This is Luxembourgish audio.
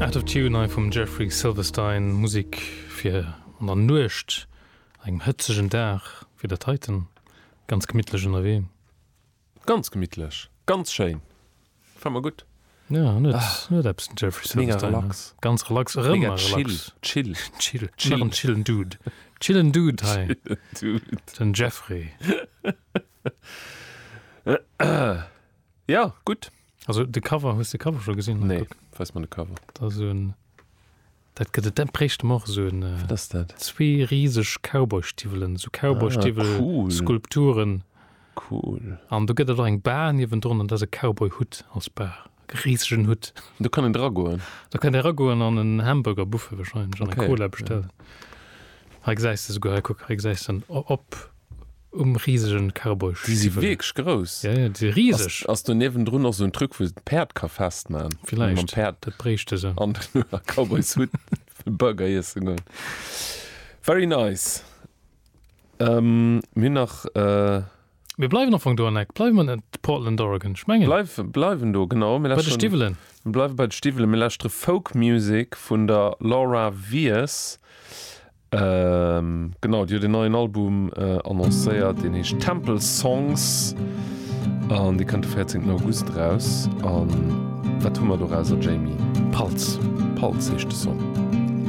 Out of Tune hei vum Jeffrey Silverstein, Musek fir an der Nuecht, an engem hëtzegen Dag wéi dat heiten, ganz gemittlech ënnerwee. Ganz gemittlech, ganz schéin, gefällt mer gutt. Ja, en huet, en huet eppes den Jeffrey Mega Silverstein. relax. Ganz relax, erëm Mega mal chill, relax. chill. Chill, Chill. nach en chillen Dude. Chillen Dude hei, Chillen Dude. den Jeffrey. Ja, gutt. Also de Cover, hues de Cover scho gesinn? Nee, weis mer de Cover. Dat ass esou en, dat gëtt et, dat bréichte mer och esou en. Wat ass dat? Zwee riseg Cowboystiwwelen, esou Cowboystiwwel-Skulpturen. Ah, cool. An do gëtt et och eng Bar niewendrun an dat ass e Cowboyhutt als Bar, e risegen Hutt. Do kann een dragoen? Do kann ee ragoen an en Hamburger Buffet wahrscheinlech an eng Okay, Cola bestellen. Hei gesäis de souguer, hei kuck, hei gesäis de en op. Um risegen Cowboystiwwel. Déi si wierklech grouss. Ja, ja, déi si riseg. Ass do niewendrun och sou en Truc, wou de d'Päerd ka festman? Villäicht. Mam Päerd. Dat bréichte se. An den Cowboyshutt Burger iessen goen. Very nice. Mir hunn nach. Mir bleiwen am Fong do an Eck. Bleiwe mer net Portland, Oregon? Ech mengen. Bleiw, bleiwen do, genau. Mir Bei de lauschteren. Stiwwelen. Mir bleiwe bei de Stiwwelen. Mir lauschtere Folk Music vun der Laura Wies. Genau, déi huet en neien Album annoncéiert, deen heescht Temple Songs an dee kënnt de 14 August eraus. A wat hu mer dorauser, Jamie? Pulse. Pulse heescht de Song.